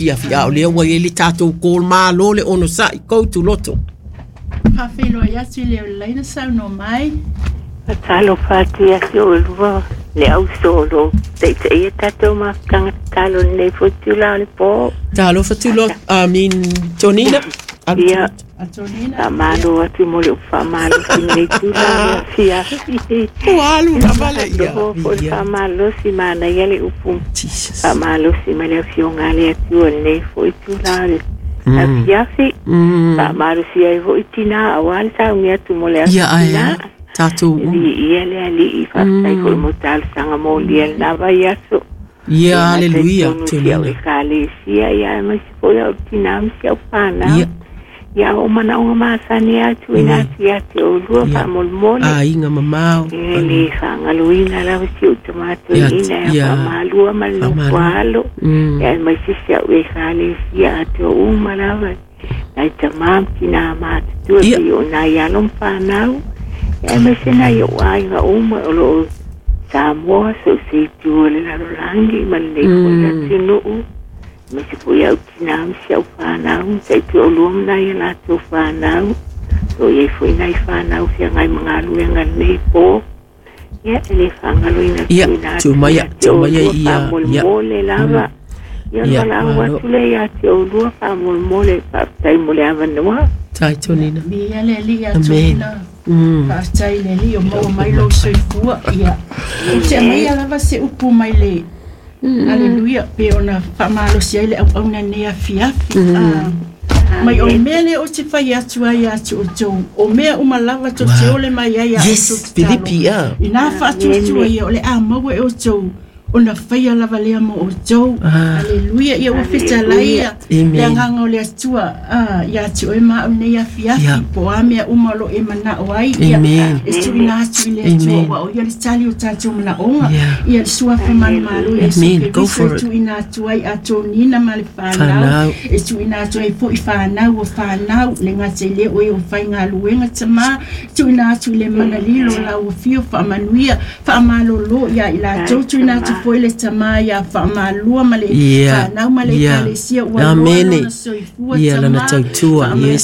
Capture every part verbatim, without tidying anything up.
Ia fia o lea ua i ai le tatou call malo le onosai go to loto. Faafeiloai atu i le laina saunoa mai. Talofa atu ia te oulua le auso o lo o taitaia tatou mafutaga tatalo i lenei foi itula o le po. Talofa Tuloto, I mean Tonina. Ia, faamalo atu mo le upu faamalosi i lenei itula o le afiafi. Ua alu lava le ia. Foi le faamalosi, manaia le upu faamalosi mai le Afioga a le Atua i lenei foi itula o le afiafi. Faamalosi ai foi tinā aua le sauni atu mo le aso tinā. Tatou uma. Viia le Alii, faafetai foi mo talosaga molia i lena vaiaso. Ia, aleluia. Si au ekalesia, ia aemaise foi au tinā ma si au fanau. Ia o manaoga masani atu ina atu ia te oulua faamolemole. Aiga mamao. E le faagaloina lava si ou tamatoeaina ia faamalua ma le nofo alo. Ia aemaise si au ekalesia atoa uma lava. Nai tamā ma tinā matutua pei o nai alo ma fanau. Ia aemaise nai ou aiga uma o loo Samoa so o se itu o le lalolagi ma lenei foi atunuu. Aemaise foi au tinā ma si au fanau, ma taitoalua ma nai a latou fanau. O lo o i ai foi nai fanau feagai ma galuega i lenei po. Ia, e le faagaloina tuuina atu ia te oulua faamolemole lava. Ia, o le valaau atu lea ia te oulua faamolemole, faafetai mo le avanoa. Tai Tonina. Viia le Alii ia Tonina. Faafetai i le Alii o maua mai lou soifua. Ia, ou te aumaia lava se upu mai le Aleluia, pe ona faamalosi ai le auauna nei afiafi. Mai o le mea lea ou te fai atu ai ia te outou, o mea uma lava tou te ole mai ai a outou tatalo, inā faatuatua ia o le a maua e outou, ona faia lava lea mo outou. Aleluia. Ia ua fetalai ia le agaga o le Atua ia te oe ma au nei afiafi, po o a mea uma o lo o e manao ai, ia e tuuina atu i le Atua, aua o ia le tali o tatou manaoga. Ia le suafa manumalo Iesu Keriso e tuuina atu ai a Tonina ma le fanau, e tuuina atu ai foi fanau o fanau, le gata i lea o e o faigaluega tamā, tuuina atu i le mana lilo lau afio faamanuia faamalolo ia i latou, tuuina atu foi le tamā ia faamalua ma le fanau ma le ekalesia ua loa lona soifua tamā faamanuia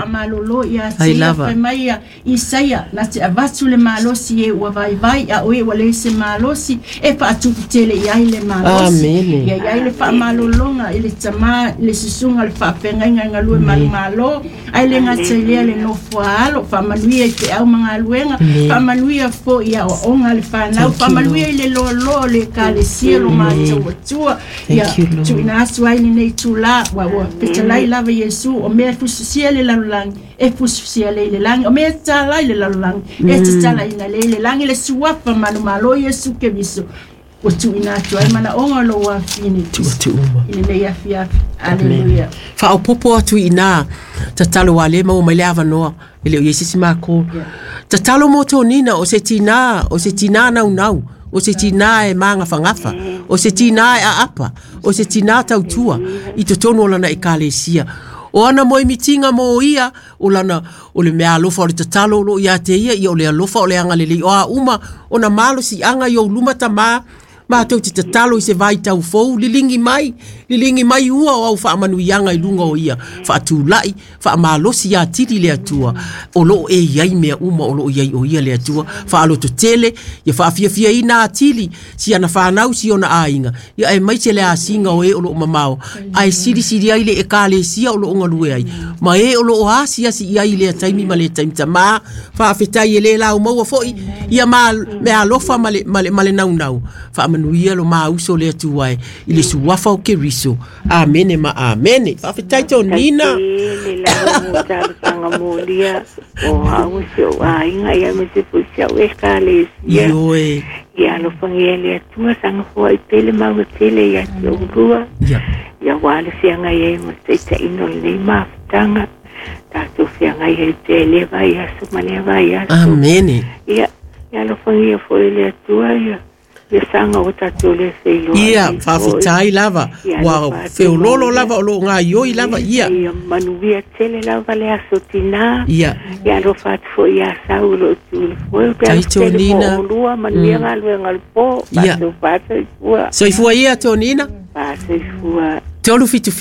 faamalolo ia te ia fai mai ia Isaia na te avatu le malosi e ua vaivai a oe ua leai se malosi e faatupu tele i ai le malosi ia i ai le faamalologa i le tamā i le susuga o le faafeagaiga i galue manumalo ai le gata i lea le nofoa alo faamanuia i feau ma galuega faamanuia foi i aoaoga a le fanau faamanuia i le loaloa o le ekalesia lo matou Atua ia tuuina atu ai lenei itulā ua ua fetalai lava Iesu o mea e fusifusia i le lalolagi e fusifusia lea i le lagi o mea e tatala i le lalolagi e tatalaina lea i le lagi le suafa manumalo Iesu Keriso ua tuuina atu ai manaoga o lou afine i lenei afiafi. Aleluia. Faaopoopo atu i ina tatalo a le maua mai le avanoa e le o i ai se isi makou. Tatalo mo Tonina o se tinā, o se tinā naunau, o se tinā e magafagafa, o se tinā e aapa, o se tinā tautua i totonu o lana ekalesia. O ana moemitiga mo ia, o lana, o le mea alofa o le tatalo o loo ia te ia, ia o le alofa o le agalelei o a uma ona malosiaga i ou luma tamā, matou te tatalo i se vaitau fou, liligi mai, liligi mai ua o au faamanuiaga i luga o ia, faatulai, faamalosi atili le Atua, o loo e i ai mea uma o loo i ai o ia le Atua, faalototele, ia faafiafiaina atili, si ana fanau, si ona aiga, ia aemaise le asiga o e o loo mamao, ae silisili ai le ekalesia o loo galue ai, ma e o loo asiasi i ai i lea taimi ma lea taimi tamā, faafetai e le laumaua foi, ia ma mea alofa ma le, ma le, ma le naunau, faamanuia lo mauso le Atua e, i le suafa o Keriso. Amene ma amene. Faafetai Tonina. Faafetai tele lava mo talosaga molia o au si ou aiga ia aemaise foi si au ekalesia. Ioe. Ia alofagia le Atua saga foai pele maua tele ia te oulua. Ia. Ia aua le feagai ai ma le taitaiga o lenei mafutaga. Tatou feagai ai pea i lea vaiaso ma lea vaiaso. Amene. Ia, ia alofagia foi le Atua ia ia saga ua tatou le feiloai Ia, ai foi. faafetai lava. Ia Ua alofa atu feololo molia. lava o loo gaioi lava ia. Ia manuia tele lava le aso tinā. Ia. Ia alofa atu foi ia Sau o loo tu i le foe. Pe Tai alofa tele mo Tonina. oulua, manuia galuega o le po. Ia. Faasoifua, soifua. Soifua ia Tonina. Faasoifua. Tolu fitu.